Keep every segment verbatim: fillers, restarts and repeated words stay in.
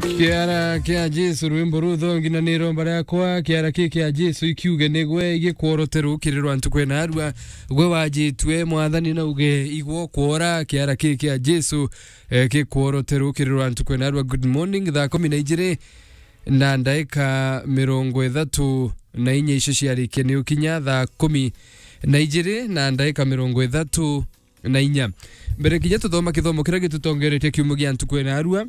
Kiara kia Jesu, rwimbo ruthongi na ni romba riakwa. Kiara ki kia Jesu ikiuge nigwe igikworotero kiri rwa ntuku ena arua. Gwe wajitue, Mwathani nauge igwo kwora. Kiara ki kia Jesu, eh, gikworotero kiri rwa ntuku ena arua. Good morning, thaa kumi na ijiri na ndaika mirongo ithatu na inya icio ciarikia ni ukinya thaa kumi na ijiri na ndaika mirongo ithatu na inya. Mbere kinya tuthoma kithomo kiria gitutongeretie kiumia gia ntuku ena arua,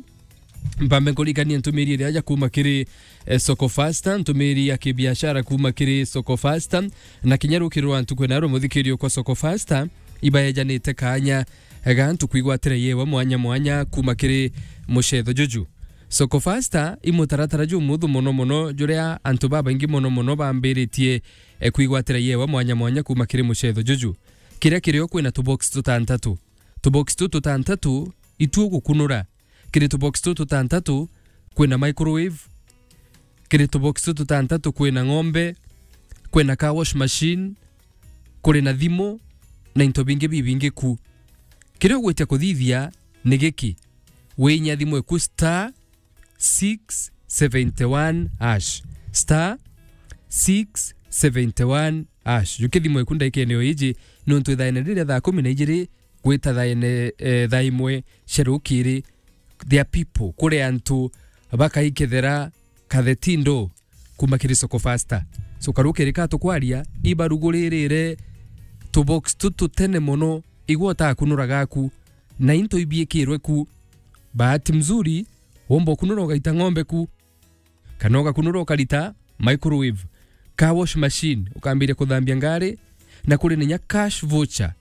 mpambe nkurikanie ntumiri iria aja kuma kiri, eh, Soko Fasta, ntumiri ya kibiashara kuma kiri Soko Fasta, na kinya rukiri rwa ntuku ena arua, muthikirio kwa Soko Fasta, ibaejanite kaanya ga ntuku igwatira yewa mwanya mwanya kuma kiri mucetho juju. Soko Fasta i mutaratara jumuthu mono mono, juria antu babaingi mono mono bambiritie, eh, kwigwatira yewa mwanya mwanya kuma kiri mucetho juju. Kiria kirio kwina tubox tutantatu. Tubox tu tutantatu itu ugukunura. Kiri tubox tu tutantatu kwina microwave. Kiri tubox tu tutantatu kwina ng'ombe, kwina car wash machine, kuri na thimu, na into bingi bibingi ku. Kiria ugwitia kuthithia ni giki: winya thimu iku star six seventy one hash. Star six seventy one hash. Jukia thimu eku ndaikene o iji, nontu ithaene riria thaa kumi na ijiri gwita thaene, eh, thaa imwe cia rukiri, there are people, kuri antu bakaikethera kathetindo kuma kiri Soko Fasta. So, karukiri ka tukwaria, ibaruguririre tubox tu tutene mono, igwo utakunura gaku, na into ibiikirwe ku. Bahati mzuri, womba ukunura ugaita ng'ombe ku, kana ugakunura ukarita microwave, car wash machine, ukambiria kuthambia ngari, na kuri ninya cash voucher.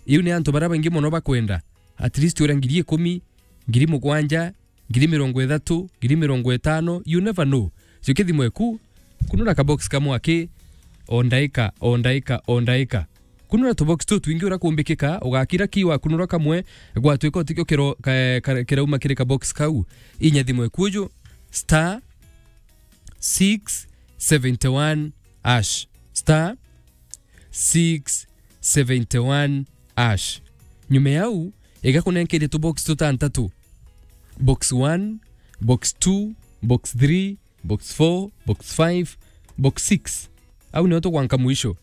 Iu ni antu baria baingi mono bakwenda. At least uria ngiri ikumi, ngiri mugwanja, ngiri mirongo ithatu, ngiri mirongo itano, you never know. Jukia thimu eku, kunura kabox kamwe aki, o ndaika, o ndaika, o ndaika. Kunura tubox tu twingi uria kumbikika, ugakira ki wakunura kamwe, gwatwika utikio kiro-, ka-, ka-, kirauma kiri kabox kau. Inya thimu eku uju, star six seventy one hash. Star six seventy one hash. Nyuma yau, igakunenkeria tubox tutantatu. Box one, box two, box three, box four, box five, box six. Au nio tugwanka mwisho.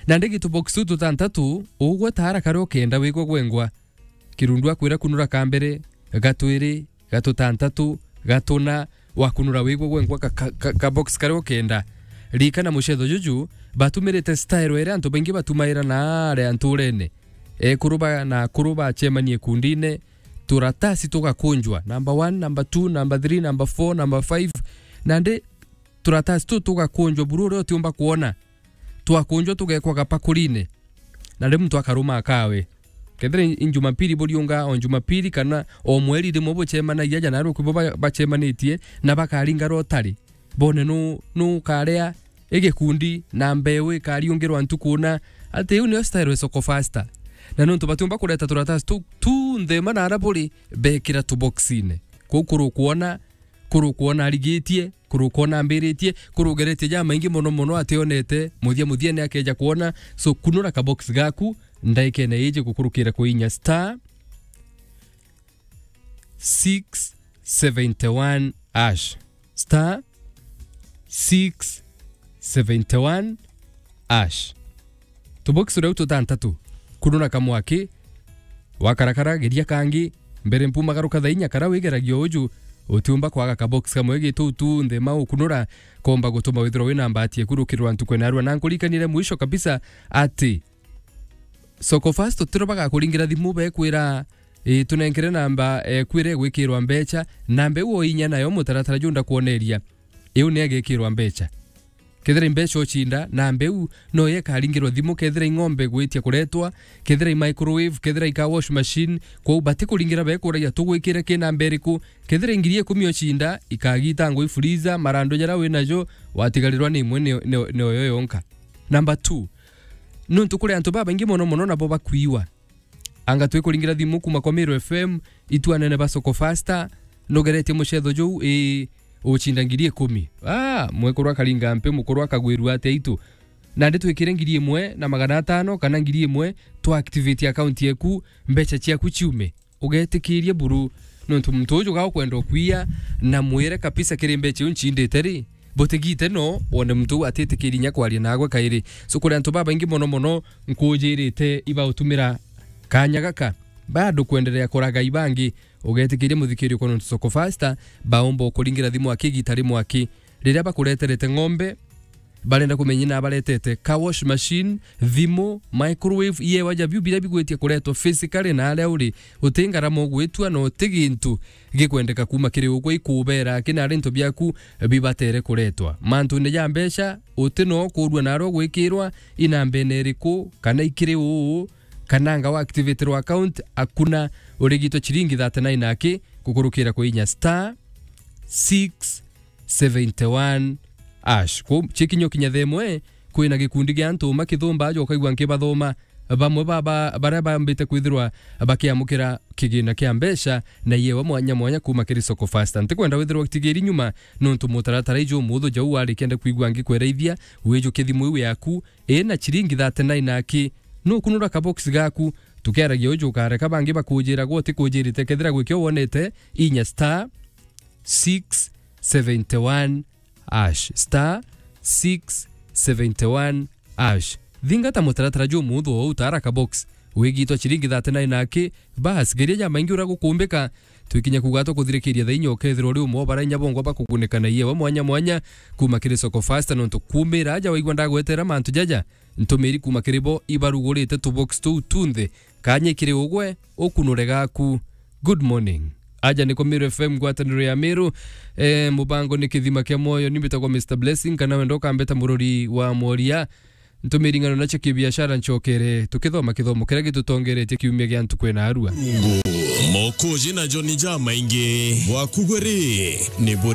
Na ndigi tubox tu tutantatu, ugwe tara karia ukenda wigwe gwengwa. Kirundu akwira kunura ka mbere, ga twiri, ga tutantatu, ga tuna, wakunura wigwe gwengwa ka, ka, ka, ka box karia ukenda. Ririkana mucetho juju, batumirite style iria antu baingi batumaira na aria nturene. Ekuru ba, na akuru bacemanie kundine, turatasi tugakunjwa, number one, number two, number three, number four, number five. Nandi turatasi tu tugakunjwa buru uria utiumba kwona. Twakunjwa tugekwa gapakurine. Na riu muntu akaruma akawe. Kethira i, i Jumapili buriunga o Jumapili kana o mweri rimwe bucemanagia, ja narua kwibo ba-, bacemanitie na bakaringa rotari. Bone nu, nu ukaria igikundi na mbeu ikariungirwa ntuku na. Ati iu nio style ya Soko Fasta. Na nontu batiumba kureta turatasi tu, tu nthema na ara buri, bekira tuboxine. Kuu kuru kwona, kuru kwona arigitie, kuru kwona ambiritie, kuru geretie jamaingi mono mono ationete, muthia muthia ni akeja kwona. So, kunura kabox gaku, ndaikene iji gukurukira kuinya star six seventy one hash. Star six seventy one hash. Tubox riu tutantatu. Kunura kamwe aki, wakarakara, geria kangi, mbere mpumagaruka thaa inya kara wigeragia uju, utiumba kwaga kabox kamwe gitu tu nthema ukunura, komba gutuma withirwa wina mbati ekurukirwa ntuku ena arua. Na nkurikanire mwisho kabisa ati Soko Fast tiro bagakuringira thimu bekwira, "Ii, tunenkere namba, eh, kwira igwikirwa mbecha," namba iu oinya nayo mutaratara junda kwoneria. Iu ni agikirwa mbecha. Kethira i mbecha ucinda, namba iu no yo ikaringirwa thimu, kethira i ng'ombe gwitia kuretwa, kethira i microwave, kethira i car wash machine, kwou batikuringira bekuragia, "Tugwikire ki namba iriku?" Kethira i ngiri ikumi ucinda, ikagitangwa i freezer, marandu jaria winajo, watigarirwa ni imwe ni, ni, ni oyo yonka. Number two, nontu kuri antu babaingi mono mono nabo bakwiwa. Anga twikuringira thimu kuma kwa Meru F M, itu anene ba Soko Fasta, nugeretie mucetho juu, ii, ucinda ngiri ikumi. Ah, mwekuru akaringa mpi, mukuru akagwirua atia itu? Nandi twikire ngiri imwe na magana atano kana ngiri imwe, twa activate account yeku, mbecha ciaku ciume. Ugetikirie buru, Nontu muntu uju ga ukwenda ukwiya, na mwire kabisa kiri mbecha iu ncindite ri, butigite no wone muntu uu atitikiri inya kwaria nagwe kairi. So kuri antu babaingi mono mono nkujirite ibautumira kanya gaka, bado kwenderea kuraga ibangi, ugetikiria muthikiri uko nontu Soko Fasta baumba ukuringira thimu aki igita rimwe aki. Riria bakureterete ng'ombe, barenda kumenya na baretete car wash machine, thimu, microwave, iewa ja biu biria bigwitie kuretwa physically na aria uri, uti ngarama ugwitua na uti gintu gikwendeka kuma kiri ugwe ikubera aki na ari into biaku bibatere kuretwa. Mantune ja mbeca, uti no kurua na aria ugwikirwa, inambene iriku, kana ikiri uu, kana anga wa activatirwa account, akuna urigitwa chiringi thirty-nine aki kukurukira kwa inya star six seventy one ash. Ku chikinyo kinya themwe, kwina gikundi gia antu makithomba aja ukaigua nkibathoma. Bamwe baba baria bambite kwithirwa bakiamukira kigina kia mbeca na iewa mwanya mwanya kuma kiri Soko Fasta. Ntikwenda withirwa utigiri nyuma, nontu mutaratara iju umuthu jau wari kenda kwigua ngikweraithia, wijukie thimu iu yaku, ina chiringi thirty-nine aki, nukunura kabox gaku, tukiaragia uju ukareka bangi bakujiraga utikujirite kethira gwikio wonete, inya star six seventy one ash, star six seventy one ash. Thingata mutaratara jumuthu o utara kabox, wigitwa chiringi thirty-nine aki, bas, geria ja maingi ura gukumbika. Twikinya kuga tukuthirikiria thaa inya ukethirwa uri umwe o bara inya bongwa bakugunika na iewa mwanya mwanya kuma kiri Soko Fasta, nontu kumira aja waigua ndagwetera mantu jaja, ntumiri kuma kiri bo ibarugurite tubox tuu tunthe, kanya kiri ugwe ukunure gaku. Good morning. Aja niko Meru F M, ngwataniro ya Meru. Eh, mubango ni kithima kia moyo, ni mbitagwa Mister Blessing, kana wenda ukambeta murori wa mworia. Ntumiri ng'ano na cia kibiashara ncokere, tukithoma kithomo kiria gitutongeretie kiumia gia ntuku ina arua. Mokuji na John Jamaingi. Bwaku gwe ri, ni buri